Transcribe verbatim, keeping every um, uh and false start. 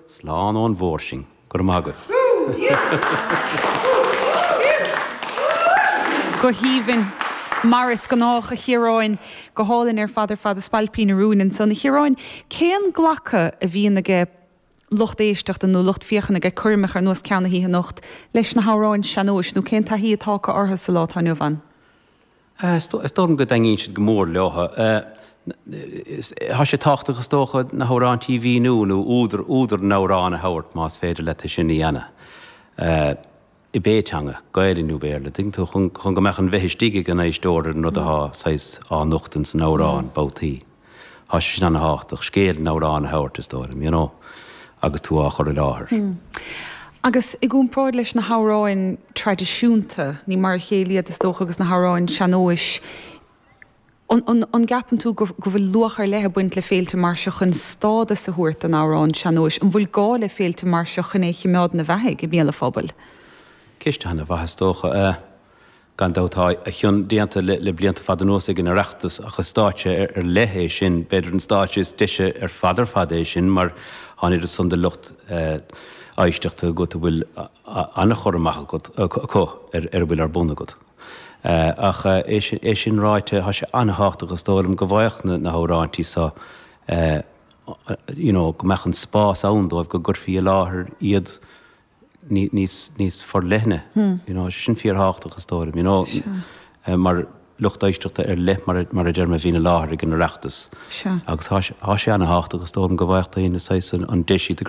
Slán ón mhór sinn. Go raibh maith agaibh. Go haoibhinn. Mar is gnách, a Chiaráin. Go hálainn ar fad ar fad, A Spailpín Rúin ansan. A Chiaráin, cén glacadh a bhíonn aige lucht éisteachta nó lucht féachana ag coirmeacha ar nós ceann na hoíche anocht leis na hamhráin sean-nóis nó cén taithí atá acu orthu sa lá atá inniu ann? Is dóigh liom go dtaitníonn siad go mór leo. Tá sé tábhachtach is dócha na hamhráintí a mhíniú nó údar údar na n-amhrán a thabhairt más féidir leat é sin a dhéanamh. I bpé teanga, Gaelainn nó Béarla, tuigeann tú, chun chun go mbeadh an bheith istigh ag an éisteoir ar an rud atá saghas á nochtadh san amhrán, babhtaí. Tá sé sin ana-thábhachtach, scéal an amhráin a thabhairt, is dóigh liom, you know, agus tú á chur i láthair. Agus i gcomparáid leis na hamhráin traidisiúnta, ní mar a chéile iad, is dócha, agus na hamhráin sean-nóis, An gceapann tú go bhfuil luach ar leith ag baint le féilte mar seo chun stádas a thabhairt don amhrán sean-nóis? An bhfuil gá le féilte mar seo chun é a chimeád ina bheathaidh i mbéal an phobail? Ceist ana-mhaith is dócha. Gan dabht tá a chion déanta le blianta fada anuas ag an Oireachtas ach is stáitse ar leith é sin, b'fhéidir an stáitse is deise ar fad ar fad é sin mar tá an oiread san de lucht éisteachta agat a bhfuil an-chur amach agat acu ar a bhfuil ar bun agat. Ach é sin ráite, tá sé an-thábhachtach is dóigh liom go bhfaigheadh na hamhráintí seo you know go mbeadh an spás ann dóibh go gcuirfí i láthair iad níos níos forleithne you know sé sin fíorthábhachtach is dóigh liom you know mar lucht éisteachta ar leith mar mar a deir mé a bhíonn i láthair ag an Oireachtas agus tá sé tá sé an-thábhachtach is dóigh liom go bhfaigheadh daoine saghas an deis iad a